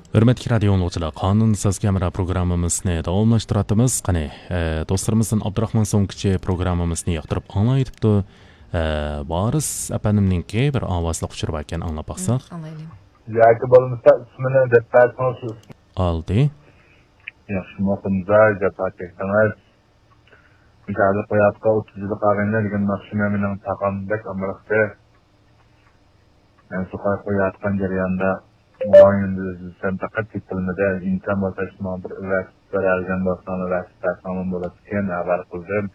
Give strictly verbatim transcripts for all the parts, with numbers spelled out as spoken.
ھۆرمەتلىك رادىيو ئاڭلىغۇچىلار، قانۇن سازى ھەمراھ پروگراممىمىزنى داۋاملاشتۇرۇۋاتىمىز. قېنى، ئە، دوستلىرىمىزدىن ئابدۇراخمان سوڭكىچى پروگراممىمىزنى ياقتۇرۇپ ئاڭلايتىپتۇ. ئە، ۋارىس ئەپەندىمنىڭكى بىر ئاۋازلىق ئۇچۇرى باركەن، ئاڭلاپ باقساق. ئاڭلايلى. ياكى بولمىسا ئىسمىنى دەپ بەرسىڭىز، شۇ ئىسمى. ئالدى. ياخشىمۇ، قۇمزا، جاپا چەكتىڭىز. مۇشۇ ھازىر قويۇۋاتقان ئوتتۇز يىللىق ئاغىنە دېگەن ناخشىمۇ مېنىڭ تاغام بەك ئامراقتى. مەن شۇ قويۇۋاتقان جەرياندا ماڭا يۈندىزىسەن پەقەت تېپىلمىدى. ئىمكان بولسا شۇ ماڭا بىر ئەۋەتىپ بېرەلىگەن بولساڭلار، ئەۋەتىپ بەرسەڭلار بولاتتىكەن، ھەۋەر قىلدىم.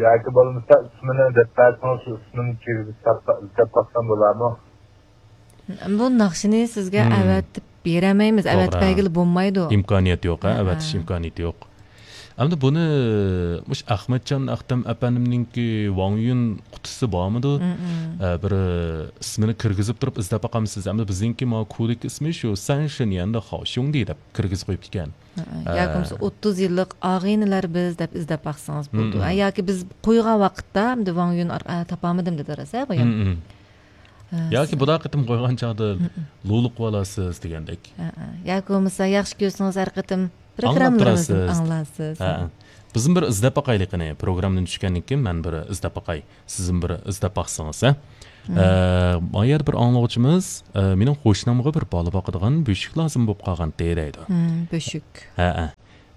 ياكى بولمىسا ئىسمىنى دەپ بەرسىڭىز، شۇ ئىسمىنى كىرگۈزۈپ تاپسا-، ئىزدەپ باقسام بولارمۇ؟ بۇ ناخشىنى سىزگە مم. ئەۋەتىپ بېرەلمەيمىز، ئەۋەتىپ توغرا. بەرگىلى بولمايدۇ. ئىمكانىيەت يوق، ھە، ھە، ئەۋەتىش ھە. ئىمكانىيىتى يوق. ئەمدى بۇنى مۇشۇ ئەخمەتجان ئەختەم ئەپەندىمنىڭكى ۋاڭ يۈن قۇتىسى بارمىدۇ؟ مم، مم. ئە، بىر ئىسمىنى كىرگۈزۈپ تۇرۇپ ئىزدەپ باقامسىز؟ ئەمدى بىزنىڭكى ما كودىكى ئىسمى شۇ سەن شېنيەندە خاۋشۇڭدى دەپ كىرگۈزۈپ قويۇپتىكەن. ھە، ھە. ياكى بولمىسا ئوتتۇز يىللىق ئاغىنىلەر بىز دەپ ئىزدەپ باقسىڭىز بولىدۇ. مم، مم. ھە، ياكى بىز قويغان ۋاقىتتا ئەمدى ۋاڭ يۈن ئار-، ئە، تاپالمىدىم دېدى راست، ھە، بايام؟ مم، مم. ھە، ياكى سىز بۇدا قېتىم قويغان چاغدا مم، مم. لولۇق بولاسىز دېگەندەك. ھە، ھە. ياكى بولمىسا ياخشى كۆرسىڭىز ھەر قېتىم ئاڭلاپ پروگراممىلىرىمىزدىن تۇراسىز. ئاڭلارسىز. ھە، ھە. بىزمۇ بىر ئىزدەپ باقايلى قېنى. پروگراممىدىن چۈشكەندىن كېيىن مەن بىر ئىزدەپ باقاي. سىزمۇ بىر ئىزدەپ باقسىڭىز، ھە؟ مم. ئە، ما يەردە بىر ئاڭلىغۇچىمىز، ئە، مېنىڭ قوشنامغا بىر بالا باقىدىغان بۆشۈك لازىم بولۇپ قالغانتى دەيدۇ. مم، بۆشۈك. ھە، ھە.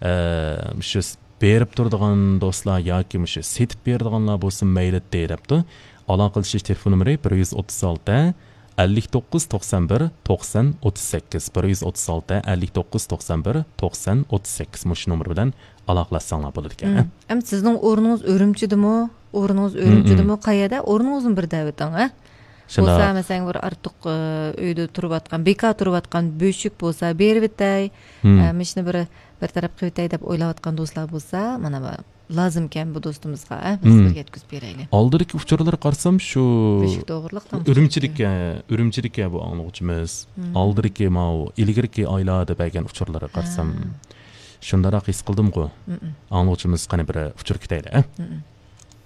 ئە، مۇشۇ س-، بېرىپ تۇرىدىغان دوستلار ياكى مۇشۇ سېتىپ بېرىدىغانلار بولسا مەيلىتى دەپتۇ. ئالاقىلىشىش تېلېفون نومۇرى بىر يۈز ئوتتۇز ئالتە، ئەللىك توققۇز، توقسان بىر، توقسان، ئوتتۇز سەككىز، بىر يۈز ئوتتۇز ئالتە، ئەللىك توققۇز، توقسان بىر، توقسان، ئوتتۇز سەككىز. مۇشۇ نومۇر بىلەن ئالاقىلەشسەڭلار بولىدىكەن، ھە؟ مم. ئەمدى سىزنىڭ ئورنىڭىز ئۈرۈمچىدىمۇ؟ ئورنىڭىز مم، ئۈرۈمچىدىمۇ؟ مم. قەيەردە؟ ئورنىڭىزنى بىر دەۋېتىڭ، ھە؟ شۇنداق. بولسا، مەسىلەن، بىر ئارتۇق، ئى، ئۆيدە تۇرۇۋاتقان، بىكار تۇرۇۋاتقان بۆشۈك بولسا، بېرىۋېتەي، مم. ئە، مۇشۇنى بىر، بىر تەرەپ قىلىۋېتەي دەپ ئويلاۋاتقان دوستلار بولسا، مانا بۇ لازىمكەن بۇ دوستىمىزغا، ئە، بىز مم. بىر يەتكۈزۈپ بېرەيلى. ئالدىدىكى ئۇچۇرلارغا قارىسام، شۇ بۆشۈك توغرىلىق ئۈرۈمچىدىكى، ئۈرۈمچىدىكى بۇ ئاڭلىغۇچىمىز. مم. ئالدىدىكى ماۋۇ ئىلگىرىكى ئايلاردا بەرگەن ئۇچۇرلارغا قارىسام، ھە. شۇنداقراق ھېس قىلدىمغۇ. مم. ئاڭلىغۇچىمىز قېنى بىر ئۇچۇر كۈتەيلى، ئە؟ مم.